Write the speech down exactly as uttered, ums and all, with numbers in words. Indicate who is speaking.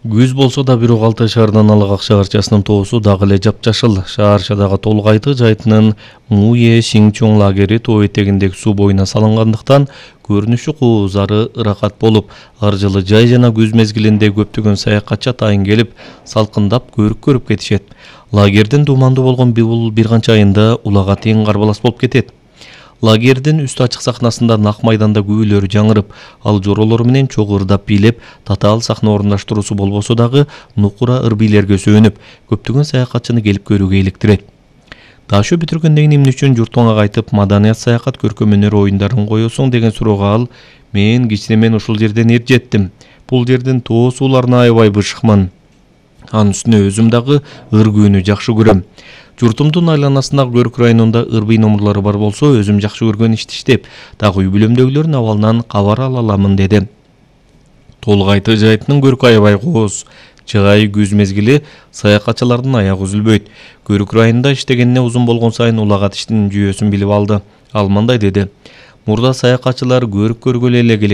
Speaker 1: Күз болсо да бирок Алтай шаарынан Алак шаарчасынын тоосу дагы эле жапжашыл. Шаарчадагы Толгайты жайытынын Муе Сиңчоң лагери тоо этегиндеги суу боюна салынгандыктан көрүнүшү куузары ыракат болуп, ар жылы жай жана күз мезгилинде көптөгөн саякатчы атайын келип, салкындап көрүк көрүп кетишет. Лагердин дуумандуу болгон бул бир канча айында улагат эң карбалас болуп кетет. Лагердин үстү ачык сахнасында нак майданда күбөлөр жаңырып, ал жоролор менен чогуу ырдап бийлеп, татаал сахна орундаштыруусу болбосо дагы нукура ыр бийлерге сөөнүп, көптөгөн саякатчыны келип көрүүгө иликтирет. Дашоо бүтүргөндөн эмне үчүн журт мага кайтып маданият саякат көркөм өнөр оюндарын коесуң деген суроого ал: мен кичинемен ушул жерден эр жеттим. Бул жердин тоо сууларына аябай бышыкмын. Анын үстүнө өзүм дагы ыр күүнү жакшы көрөм. Журтумдун айланасындагы Көрүк районунда ырбый номурлары бар болсо, өзүм жакшы көргөн ишти иштеп, дагы үй бүлөмдөгүлөрдүн абалынан кабар ала аламын деди. Толгайты жайытынын көркү аябай кооз. Жай күз мезгили саякатчылардын аягы үзүлбөйт. Көрүк районунда иштегенине узун болгон сайын улагат иштин жүйөсүн билип алды. Ал мындай деди: мурда саякатчылар көрүк көргөлө эле келет.